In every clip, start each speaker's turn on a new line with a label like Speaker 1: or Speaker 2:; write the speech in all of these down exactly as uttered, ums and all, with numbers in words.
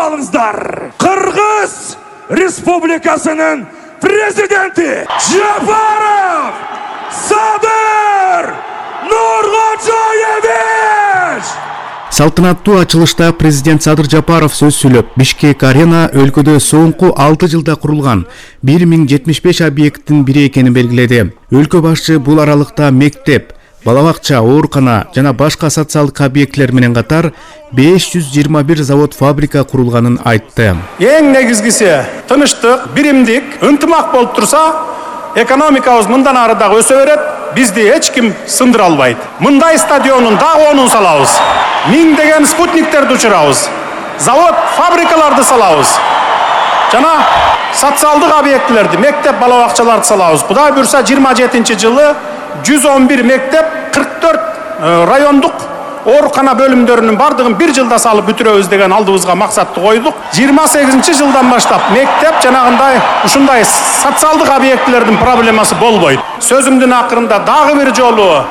Speaker 1: алыңыздар. Кыргыз Республикасынын президенти Жапаров Садыр Нуркожоевич.
Speaker 2: Салтанаттуу ачылышта президент Садыр Жапаров сөз сүйлөп, Бишкек арена өлкөдө соңку алты жылда курулган бир миң жетимиш беш объекттин бири экенин белгиледи. Өлкө башчы бул аралыкта мектеп, балабакча, оорукана жана башка социалдык объектлер менен катар беш жүз жыйырма бир завод, фабрика курулганын айтты.
Speaker 3: Эң негизгиси тынычтык, биримдик, ынтымак болуп турса, экономикабыз мындан ары дагы өсө берет, бизди эч ким сындыра албайт. Мындай стадионун дагы онун салабыз. Миңдеген спутниктерди учурабыз. Завод, фабрикаларды салабыз. Жана социалдык объектлерди, мектеп, балабакчаларды салабыз. Кудай буйрса жыйырма жетинчи жылы жүз он бир мектеп, кырк төрт райондук оорукана бөлүмдөрүнүн бардыгын бир жылда салып бүтүрөбүз деген алдыбызга максатты койдук. жыйырма сегизинчи жылдан баштап мектеп жанагындай ушундай социалдык объектлердин проблемасы болбойт. Сөзүмдүн акырында дагы бир жолу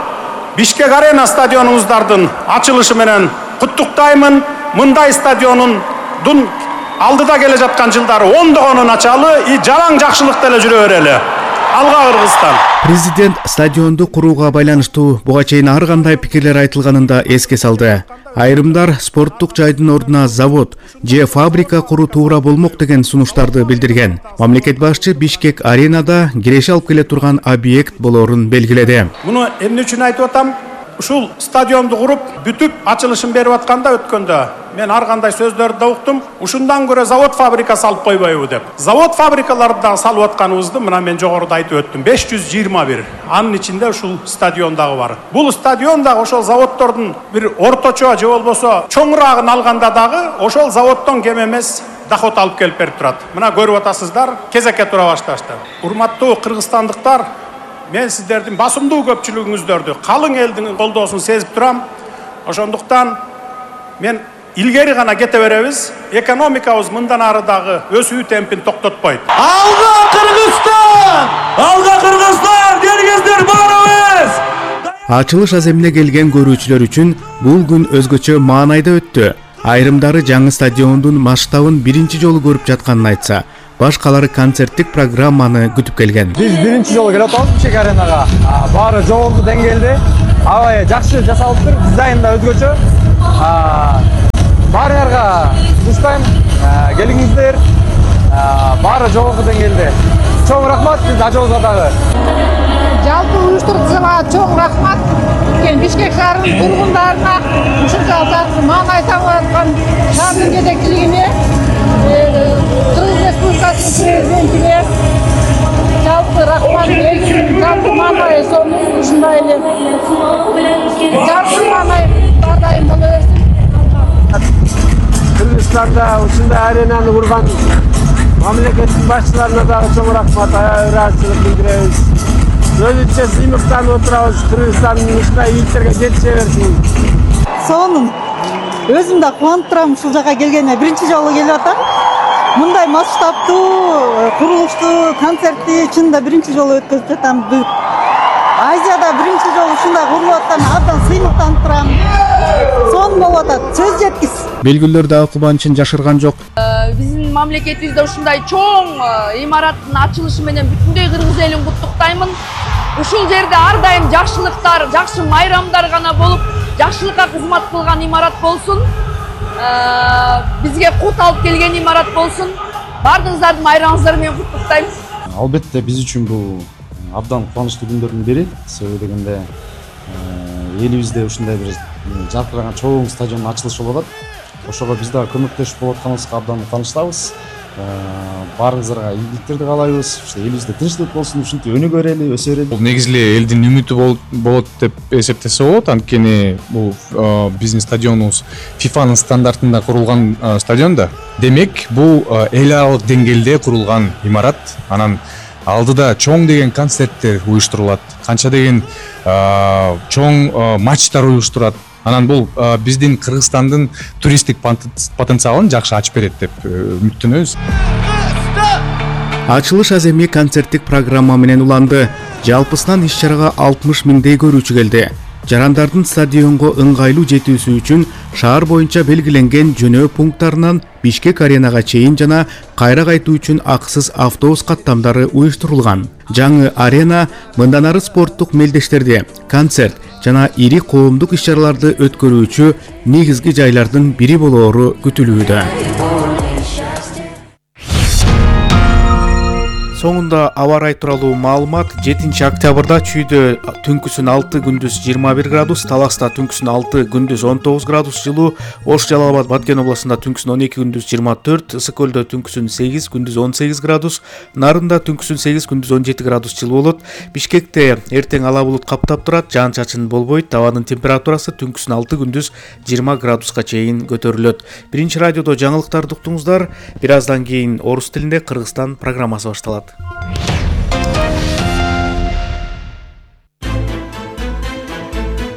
Speaker 3: Бишкек арена стадионубуздардын ачылышы менен куттуктаймын. Мындай стадиондун алдыда келе жаткан жылдары ондогонун ачалы, и жалаң жакшылык деле жүрө берели. Алга Кыргызстан.
Speaker 2: Президент стадионду курууга байланыштуу буга чейин ар кандай пикирлер айтылганын да эске салды. Айрымдар спорттук жайдын ордуна завод же фабрика куруу туура болмок деген сунуштарды билдирген. Мамлекет башчы Бишкек аренада киреше алып келе турган объект болорун белгиледи.
Speaker 3: Муну эмне үчүн айтып атам? Ушул стадионду куруп, бүтүп ачылышын берип атканда өткөндө мен ар кандай сөздөрдү да уктум. Ушундан көрө завод, фабрика салып койбойбу деп. Завод, фабрикаларды да салып атканыбызды мына мен жогоруда айтып өттүм. беш жүз жыйырма бир. Анын ичинде ушул стадион дагы бар. Бул стадион дагы ошол заводдордун бир орточо же болбосо чоңураагын алганда дагы ошол заводдон кем эмес доход алып келип берип турат. Мына көрүп атасыздар, кезекке тура башташты. Урматтуу кыргызстандыктар, мен сиздердин басымдуу көпчүлүгүңүздөрдү, калың элдин колдоосун сезип турам. Ошондуктан мен илгери гана кете беребиз. Экономикабыз мындан ары дагы өсүү темпин токтотпойт.
Speaker 1: Алга Кыргызстан! Алга Кыргызстан! Келгиздер барыбыз!
Speaker 2: Ачылыш аземине келген көрүүчүлөр үчүн бул күн өзгөчө маанайда өттү. Айрымдары жаңы стадиондун масштабын биринчи жолу көрүп жатканын айтса, башкалары концерттик программаны күтүп келген.
Speaker 4: Биз биринчи жолу келип атабыз Бишкек аренага. Баары жогорку деңгээлде, аябай жакшы жасалыптыр, дизайн да өзгөчө. Баарыңарга душтайм, келиңиздер. Баары жогорку деңгээлде. Чоң рахмат биз ажообузга дагы.
Speaker 5: Жалпы уюштургучуларга чоң рахмат. Бишкек шаарынын тургундарына, ушунча маанай табып аткан шаардын жетекчилигине, Кыргыз Республикасынын президентине жалпы рахмат. Жалпы маанай сону ушундай эле. Жалпы маанай ар дайым боло берсин.
Speaker 4: Кыргызстанда ушундай аренаны курган мамлекеттин башчыларына дагы чоң рахмат, ыраазычылык билдиребиз. Өзүнчө сыймыктанып отурабыз, Кыргызстандын ушундай ийгиликтерге жетише берсин.
Speaker 6: Сонун. Өзүм да кубанып турам ушул жака келгениме. Биринчи жолу келип атам. Мындай масштабтуу курулуштуу концертти чынында биринчи жолу өткөзүп жатам. Азияда биринчи жолу ушундай курулуп аткан абдан сыймыктанып турам. Сонун болуп атат. Сөз жеткис.
Speaker 2: Белгилер дагы кубанычын жашырган жок.
Speaker 7: Биздин мамлекетибизде ушундай чоң имараттын ачылышы менен бүтүндөй кыргыз элин куттуктаймын. Ушул жерде ар дайым жакшылыктар, жакшы майрамдар гана болуп, жакшылыкка кызмат кылган имарат болсун. Бизге кут алып келген имарат болсун. Бардыгыңыздардын майрамыңыздар менен куттуктайм.
Speaker 8: Албетте биз үчүн бул абдан кубанычтуу күндөрдүн бири. Себеби дегенде элибизде ушундай бир жаркыраган чоң стадиондун ачылышы болуп атат. Ошого биз дагы көмөктөшүп болуп атканыбызга абдан кубанычтабыз. Баарыңыздарга ийгиликтерди каалайбыз. Элибизде тынчтык болсун, ушинтип өнүгө берели, өсө берели.
Speaker 9: Бул негизи эле элдин үмүтү болот деп эсептесе болот. Анткени бул биздин стадионубуз фифанын стандартында курулган стадион да. Демек, бул эл аралык деңгээлде курулган имарат. Анан алдыда чоң деген концерттер уюштурулат. Канча деген чоң матчтар уюштурат. Анан бул биздин Кыргызстандын туристтик потенциалын жакшы ачып берет деп үмүттөнөбүз.
Speaker 2: Ачылыш аземи концерттик программа менен уланды. Жалпысынан иш-чарага алтымыш миңдей көрүүчү келди. жарандардын стадионго ыңгайлуу жетүүсү үчүн шаар боюнча белгиленген жөнөө пункттарынан Бишкек аренага чейин жана кайра кайтуу үчүн акысыз автобус каттамдары уюштурулган. Жаңы арена мындан ары спорттук мелдештерди, концерт жана ири коомдук иш-чараларды өткөрүүчү негизги жайлардын бири болоору күтүлүүдө. Соңунда аба ырайы тууралуу маалымат. жетинчи октябрда Чүйдө түнкүсүн алты, күндүз жыйырма бир градус, Таласта түнкүсүн алты, күндүз он тогуз градус жылуу, Ош, Жалал Абад, Баткен областында түнкүсүн он эки, күндүз жыйырма төрт, Ысык көлдө түнкүсүн сегиз, күндүз он сегиз градус, Нарында түнкүсүн сегиз, күндүз он жети градус жылуу болот. Бишкекте эртең ала булут каптап турат, жаан-чачын болбойт. Абанын температурасы түнкүсүн алты, күндүз жыйырма градуска чейин көтөрүлөт. Биринчи радиодо жаңылыктарды уктуңуздар. Бир аздан кийин орус тилинде Кыргызстан программасы башталат.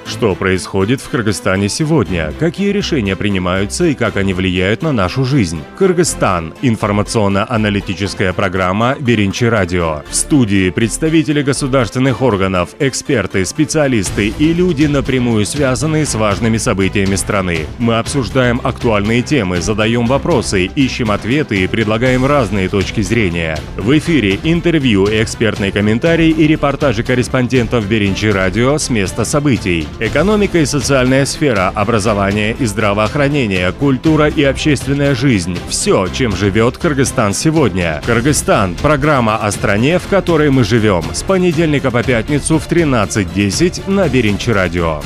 Speaker 10: Что происходит в Кыргызстане сегодня? Какие решения принимаются и как они влияют на нашу жизнь? Кыргызстан. Информационно-аналитическая программа «Биринчи радио». В студии представители государственных органов, эксперты, специалисты и люди, напрямую связанные с важными событиями страны. Мы обсуждаем актуальные темы, задаем вопросы, ищем ответы и предлагаем разные точки зрения. В эфире интервью, экспертные комментарии и репортажи корреспондентов «Биринчи радио» с места событий. Экономика и социальная сфера, образование и здравоохранение, культура и общественная жизнь. Все, чем живет Кыргызстан сегодня. Кыргызстан – программа о стране, в которой мы живем. С понедельника по пятницу в тринадцать десять на Биринчи радио.